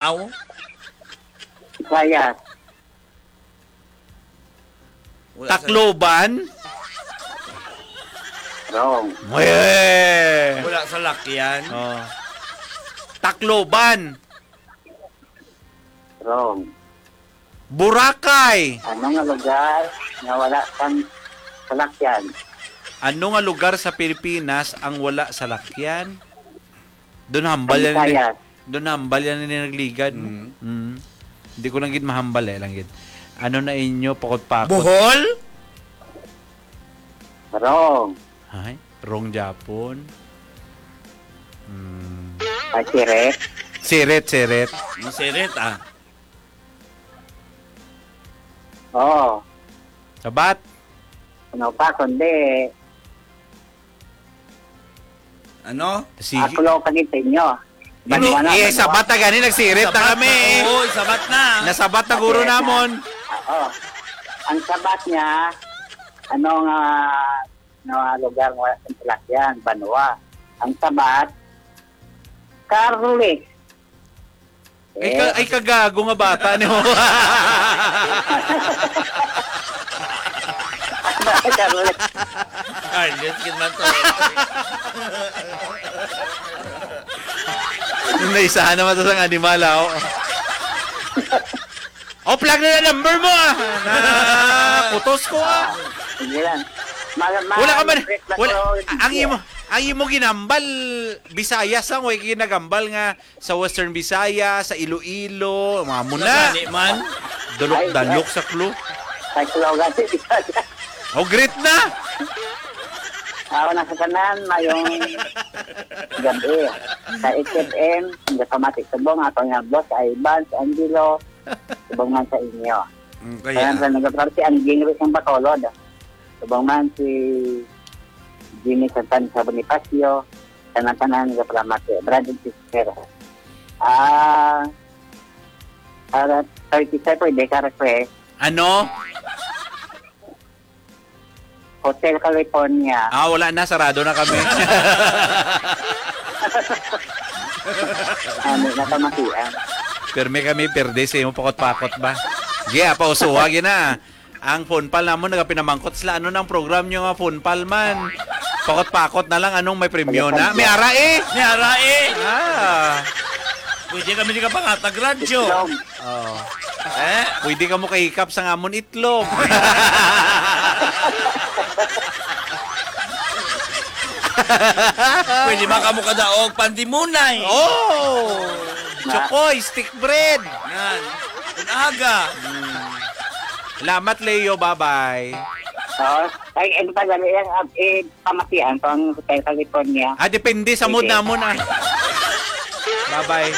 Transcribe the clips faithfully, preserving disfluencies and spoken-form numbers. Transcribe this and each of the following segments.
Aw. Bisayas. Wala sa Tacloban? Wrong. Weh! Wala sa lakyan. Oh. Tacloban. Wrong. Boracay. Ano nga lugar nga wala sang salakyan? Ano nga lugar sa Pilipinas ang wala salakyan? Doon hambal Ang yan ni, Visayas. Doon hambal yan ni nagligad, no? Mm. Mm. Hindi ko lang gid mahambal eh, lang gid. Ano na inyo, pakot-pakot? Bohol? Wrong. Ay, wrong Japon. Hmm. Ay, siret. Siret, siret. Ang sirit, ah. Oo. Sabat. Ano pa, kundi Ano? Sige. Ako lang kaninyo. Hindi, Banwa na, eh, banwa. Sabat na gani, nagsirit na Sabat kami. Na, oo, sabat na. Nasabat na guro Okay, namon. Oo. Ang sabat niya, ano nga, nga lugar nga wala sa Tilapyan, banwa. Ang sabat, Carles. Ay, ka, Eh, ay, kagago nga bata, no? Carles. Carlos, gid man to. Naisahan naman to sang animal, ah, oh. Oh, plug na na number mo, ah. Na, kutos ko, ah. Sige lang. Mal-, mal-, Wala ka man, break na wala, ko, ang sige. Imo, ang imo ginambal, Bisayas lang, way ginagambal nga sa Western Visayas, sa Iloilo, mga muna. Nagani man. Dalok-dalok Ay, sa clue. Sa Iloilo, sa Visayas. Oh, great na! Ako na sa tanan, mayong gabi. Sa H F M, nagapamati subong, ako nga boss, Ivan, si Angelo, subong man sa inyo. Mm, kaya. Kaya sa nagapamati, ang Jingri ng Bacolod. Subong man si Jimmy Santan sa Bonifacio, tanan-tanan, nagapamati. Brad and sister. Ah, para thirty-five, pwede ka request. Ano? Hotel California. Ah, wala na. Sarado na kami. Ano na kamatian? Permi kami, perde sa imo pakot-pakot ba? Gi, apa, usuha, gi na. Ang phone pal namon nagapinamangkot sila, "Ano nang program nyo nga phone pal man? Pakot-pakot na lang, anong may premyo na?" May ara eh! May ara eh! Ah. Pwede kami di ka pangatag radyo. Itlog. Oh. Eh? Pwede ka mo kahikap sa ngamon itlog. Pwede man kamo kadaog pandimunay. Oh! Chokoy, stick bread. Yan. Ang aga. Hmm. Salamat, Leo. Bye-bye. Oh, ay, ano pa, dali lang, ah, eh, pamatian ko ang Hotel California. Ah, depende sa mood Sige. Namon, ah. Bye-bye.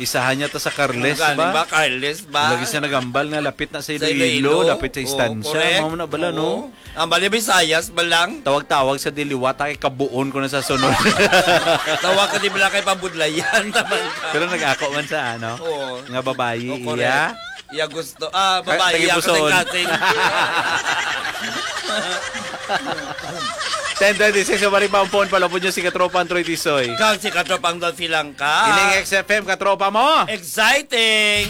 Isahan niya to sa Carles Ang galing ba? Ba? Carles ba? Lagi siya nagambal nga lapit na sa Sa Iloilo, Iloilo? Lapit sa Oo, Estancia. Correct. Mao na bala, no? Oo. Ang bali, Visayas ba lang? Tawag-tawag sa diliwat, ay kabuon ko na sa sunod. Tawag ka di bala kay pabudlayan naman ka. Pero nag-ako man sa, ano, Oo. Nga babayi, Oh, correct. Iya. Iya gusto. Ah, Ka-, babae, iya tagipuson. Kasing-kasing. Ten twenty-six, sa Baribampon, palapod nyo si Katropang Troy Tisoy. Kag si Katropang Dolphy lang ka. Ining X F M, katropa mo. Exciting!